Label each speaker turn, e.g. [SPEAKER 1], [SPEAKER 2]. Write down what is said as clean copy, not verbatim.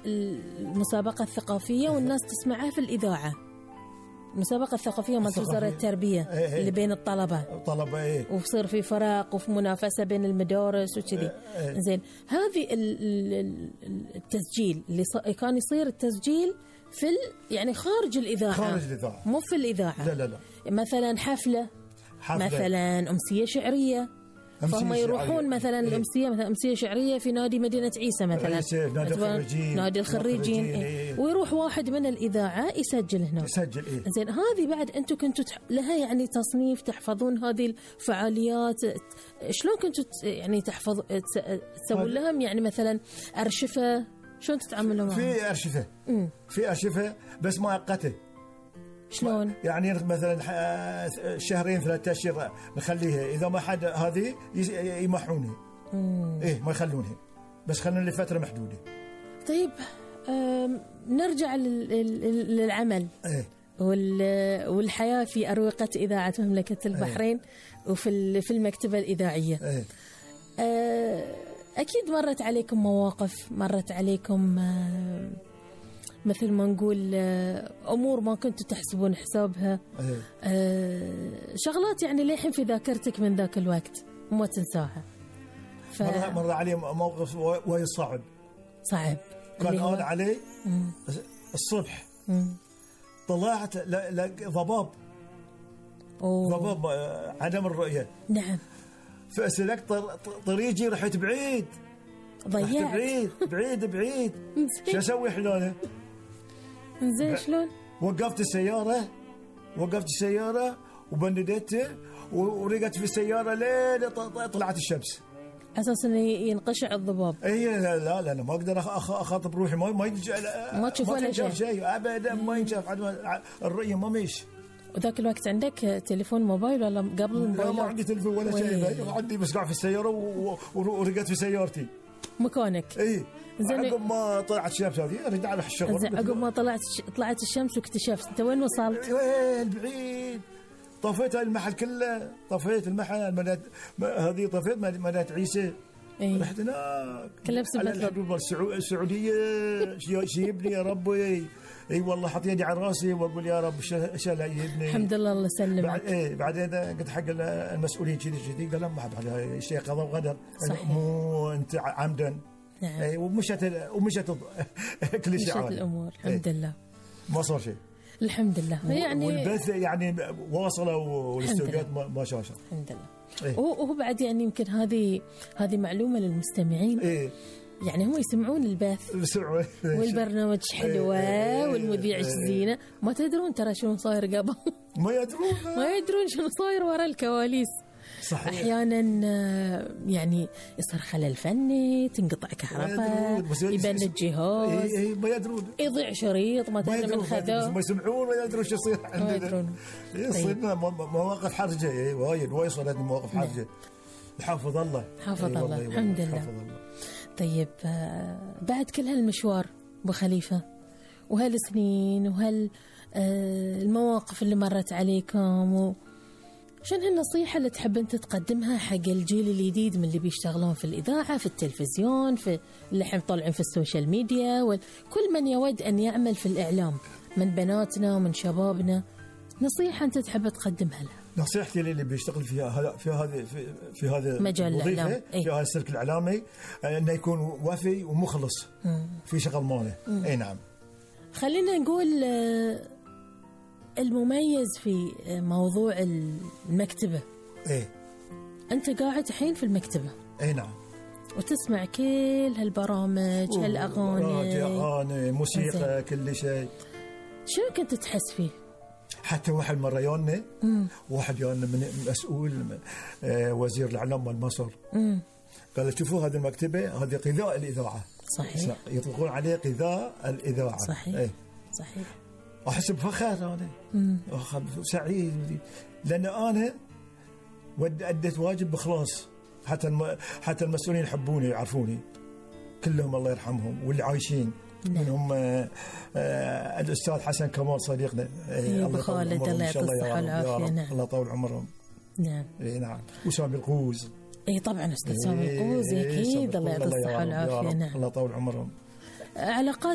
[SPEAKER 1] المسابقة الثقافية والناس تسمعها في الإذاعة. المسابقة الثقافية مالت وزارة التربية اللي بين الطلبة وبصير في فرق وفي منافسة بين المدارس وكذي. زين هذه التسجيل اللي كان يصير التسجيل في يعني خارج الإذاعة مو في الإذاعة.
[SPEAKER 2] لا.
[SPEAKER 1] مثلا حفلة مثلا أمسية شعرية، فهم يروحون مثلا الأمسية مثلا أمسية شعرية في نادي مدينة عيسى مثلا نادي الخريجين ويروح واحد من الإذاعة يسجل هنا. زين هذه بعد أنتم كنتوا لها يعني تصنيف تحفظون هذه الفعاليات، شلون كنتوا يعني تسوون لهم يعني مثلا أرشفة، شلون تتعاملوا معهم؟
[SPEAKER 2] في أرشفة بس مؤقتة.
[SPEAKER 1] شلون؟
[SPEAKER 2] يعني مثلا شهرين 3 أشهر نخليها، إذا ما حد هذه يمحونها ما يخلونها، بس خلونا لفترة محدودة.
[SPEAKER 1] طيب نرجع للعمل والحياة في أروقة إذاعة مملكة البحرين وفي المكتبة الإذاعية. أكيد مرت عليكم مواقف، مرت عليكم مثل ما نقول أمور ما كنتوا تحسبون حسابها، شغلات يعني للحين في ذاكرتك من ذاك الوقت وما تنساها.
[SPEAKER 2] مر علي موقف وهي صعب كان أول علي الصبح طلعت ضباب عدم الرؤية.
[SPEAKER 1] نعم.
[SPEAKER 2] فأسلكت طريقي رحت بعيد،
[SPEAKER 1] ضيعت
[SPEAKER 2] بعيد شو أسوي حلوله؟
[SPEAKER 1] زين شلون؟
[SPEAKER 2] وقفت السيارة وبندته ورقت في السيارة لين طلعت الشمس
[SPEAKER 1] أساسا ينقشع الضباب.
[SPEAKER 2] لا ما أقدر أخاطب روحي،
[SPEAKER 1] ما تشوف ولا
[SPEAKER 2] شيء أبدا، ما ينشاف الرؤية ما ماشي.
[SPEAKER 1] وذاك الوقت عندك تليفون موبايل ولا قبل الموبايل؟
[SPEAKER 2] لا ما عندي تليفون ولا شيء، عندي بس قاعد في السيارة ورقت في سيارتي
[SPEAKER 1] مكانك.
[SPEAKER 2] زين عقب ما طلعت الشمس هذه أريد على الشغل.
[SPEAKER 1] زين عقب ما طلعت الشمس واكتشفت أنت وين وصلت؟
[SPEAKER 2] بعيد. طفيت المحل كله، طفيت المحل هذه طفيت مدينة عيسى. رحت هناك
[SPEAKER 1] كلبس
[SPEAKER 2] الحدود السعودية شيبني يا ربي. والله حط يدي على راسي واقول يا رب شال يبني.
[SPEAKER 1] الحمد لله الله يسلمك.
[SPEAKER 2] بعدين قلت حق المسؤولين كذي قال ما حد على شيء قضاء وقدر، مو انت عمدا.
[SPEAKER 1] نعم.
[SPEAKER 2] ومشت كل شيء عادي.
[SPEAKER 1] الامور الحمد لله
[SPEAKER 2] ما صار شيء
[SPEAKER 1] الحمد لله. يعني
[SPEAKER 2] والبث يعني واصله والاستوديوهات ما شاء الله
[SPEAKER 1] الحمد لله. وهو بعد يعني يمكن هذه معلومة للمستمعين. يعني هم يسمعون البث والبرنامج حلوة والمذيع زينة، ما تدرون ترى شنو صاير قبل.
[SPEAKER 2] ما يدرون
[SPEAKER 1] شنو صاير وراء الكواليس.
[SPEAKER 2] صحيح.
[SPEAKER 1] أحيانا يعني يصير خلل فني، تنقطع كهرباء، يبند الجهاز،
[SPEAKER 2] ما يدرون،
[SPEAKER 1] يضيع شريط مثلا من خذاه،
[SPEAKER 2] ما يسمعون ولا يدرون شو يصير عندنا. يصيرنا مواقف حرجة وايد صارت مواقف حرجة. حافظ الله
[SPEAKER 1] الحمد لله. طيب بعد كل هالمشوار أبو خليفة وهالسنين المواقف اللي مرت عليكم، شنو هالنصيحة اللي تحب أنت تقدمها حق الجيل الجديد من اللي بيشتغلون في الإذاعة، في التلفزيون، في اللي حين طالعين في السوشيال ميديا، وكل من يود أن يعمل في الإعلام من بناتنا ومن شبابنا، نصيحة أنت تحب تقدمها له؟
[SPEAKER 2] نصيحتي اللي بيشتغل في هذا
[SPEAKER 1] مجال الإعلام،
[SPEAKER 2] في هذا السلك الإعلامي، أنه يكون وفي ومخلص في شغل ماله. نعم. خلينا
[SPEAKER 1] نقول المميز في موضوع المكتبة. أنت قاعد الحين في المكتبة.
[SPEAKER 2] نعم.
[SPEAKER 1] وتسمع كل هالبرامج، هالأغاني،
[SPEAKER 2] موسيقى، كل شيء.
[SPEAKER 1] شو كنت تحس فيه؟
[SPEAKER 2] حتى واحد يونا من مسؤول وزير الإعلام مال مصر قال شوفوا هذه المكتبة هذه غذاء الإذاعة.
[SPEAKER 1] صحيح.
[SPEAKER 2] يطلقون عليه غذاء الإذاعة.
[SPEAKER 1] صحيح.
[SPEAKER 2] أحس بفخر أنا، سعيد، لأن أنا أديت واجب بخلاص. حتى المسؤولين يحبوني يعرفوني كلهم الله يرحمهم، واللي عايشين منهم الأستاذ حسن كمال صديقنا،
[SPEAKER 1] الله خالد الله يعطيه الصحة والعافية. نعم.
[SPEAKER 2] الله يطول عمرهم.
[SPEAKER 1] نعم.
[SPEAKER 2] نعم. وسامي القوز.
[SPEAKER 1] طبعا أستاذ سامي القوز أكيد الله يعطيه الصحة والعافية. نعم.
[SPEAKER 2] الله يطول عمرهم.
[SPEAKER 1] علاقات